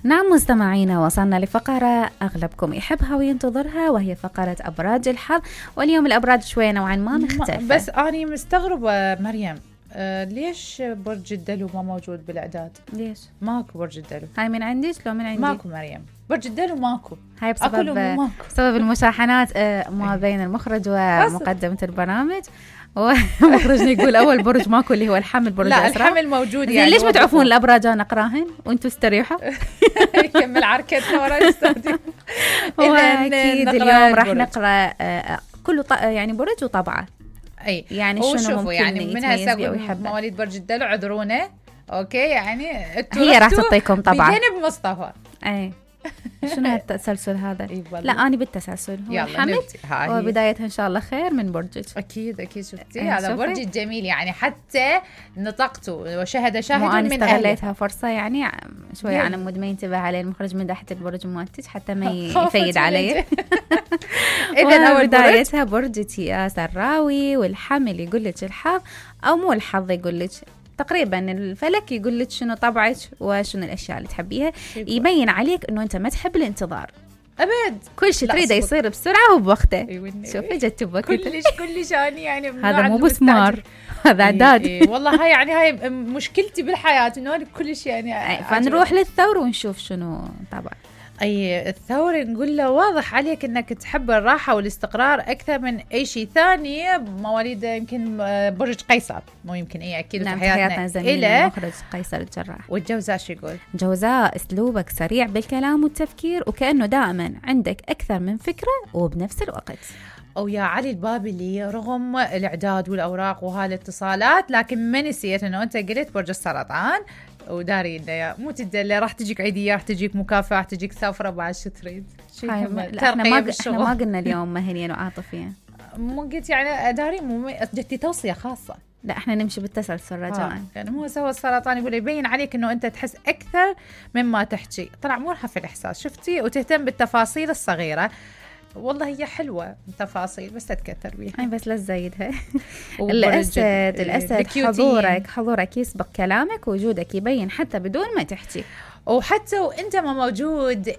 نعم مستمعينا، وصلنا لفقرة أغلبكم يحبها وينتظرها، وهي فقرة أبراج الحظ. واليوم الأبراج شوية نوعا ما مختلفة. بس أنا مستغربة مريم، ليش برج الدلو ما موجود بالإعداد؟ ليش؟ ماكو برج الدلو. هاي من عندك لو من عندي؟ ماكو مريم، برج الدلو ماكو. هاي بسبب المشاحنات ما بين المخرج ومقدمة البرنامج. ومخرجنا يقول أول برج ماكو اللي هو الحمل، برج لا الأسرع. الحمل موجود يعني. ليش ما تعرفون الأبراج أنا أقراهن وأنتوا استريحوا؟ يكمل عركتنا ورا نستخدم. أكيد اليوم راح نقرأ كل يعني برج وطبعه. أي يعني شنو ممكن يعني من هسه مواليد برج الدلو عذرونا، أوكي يعني هي راح تعطيكم طبعا بجانب مصطفى. أي شنو التسلسل هذا؟ لا أنا بالتسلسل هو الحمل وبدايتها إن شاء الله خير من برجك. أكيد شفتي هذا برج الجميل يعني، حتى نطقته وشهد شاهد من أهله. استغليتها فرصة يعني شوي على مود ما ينتبه عليه المخرج من تحت البرج مالتك حتى ما يفيد عليه. إذا بدايتها برج ياس الراوي، والحمل يقول لك الحظ أو مو الحظ، يقول لك تقريبا الفلك يقول لك شنو طبعك وشنو الاشياء اللي تحبيها. يبين عليك انه انت ما تحب الانتظار ابد، كل شيء تريده يصير بسرعه وبوقته. شوفي جت بوقته كلش يعني هذا مو بسمار، هذا اعداد. والله هاي مشكلتي بالحياه انه كل شيء يعني. فنروح للثور ونشوف شنو طبعا. أي الثور نقول له واضح عليك أنك تحب الراحة والاستقرار أكثر من أي شيء ثاني. مواليد يمكن برج قيصر، مو يمكن أكيد. نعم في حياتنا زميلنا مخرج قيصر الجراح. والجوزاء شو يقول؟ جوزاء أسلوبك سريع بالكلام والتفكير، وكأنه دائما عندك أكثر من فكرة وبنفس الوقت. أو يا علي البابلي، رغم الإعداد والأوراق وهالاتصالات لكن ما نسيت أنه أنت قلت برج السرطان، وداري إنه مو تدلي راح تجيك عيدية، راح تجيك مكافأة، راح تجيك سفرة بعد شو تريد. احنا ما قلنا اليوم مهنيا وعاطفيا، مو قلت يعني داري مو جتي توصية خاصة. لا احنا نمشي بالتسلسل رجاء. يعني هو سوى السرطان يقول يبين عليك انه انت تحس اكثر مما تحكي. طلع مرهف في الاحساس، شفتي، وتهتم بالتفاصيل الصغيرة. والله هي حلوة التفاصيل بس تتكتر بيها. بس لا تزيدها. الأسد حضورك يسبق كلامك، وجودك يبين حتى بدون ما تحكي. وحتى وانت ما موجود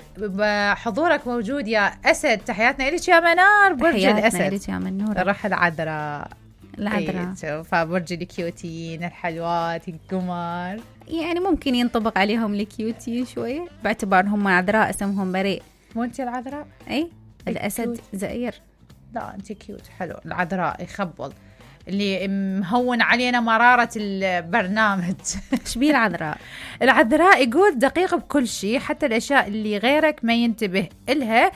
حضورك موجود يا أسد. تحياتنا إليك يا منار، برج الأسد. إليك يا منور. راح العذراء. فبرج الكيوتين الحلوات القمر، يعني ممكن ينطبق عليهم الكيوتين شوية باعتبارهم عذراء، اسمهم بريء. مو انت العذراء؟ اي الأسد زئير. لا انت كيوت حلو. العذراء يخبل اللي مهون علينا مرارة البرنامج. شبيه العذراء؟ العذراء يقول دقيق بكل شيء، حتى الأشياء اللي غيرك ما ينتبه إلها.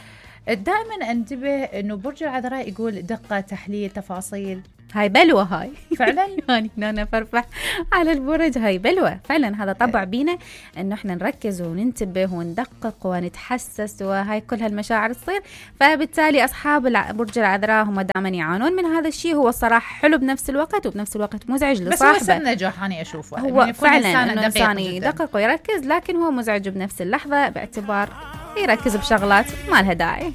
دائما انتبه انه برج العذراء يقول دقة، تحليل، تفاصيل. هاي بلوة هاي فعلا. يعني أنا فرفح على البرج، هاي بلوة فعلا. هذا طبع بينا إنه إحنا نركز وننتبه وندقق ونتحسس، وهاي كل هالمشاعر تصير. فبالتالي أصحاب برج العذراء هم دائما يعانون من هذا الشيء. هو الصراحة حلو بنفس الوقت، وبنفس الوقت مزعج لصاحبه. بس هو سر نجاح أنا أشوفه. هو فعلا إنه إنسان يدقق ويركز، لكن هو مزعج بنفس اللحظة باعتبار يركز بشغلات ما لها داعي.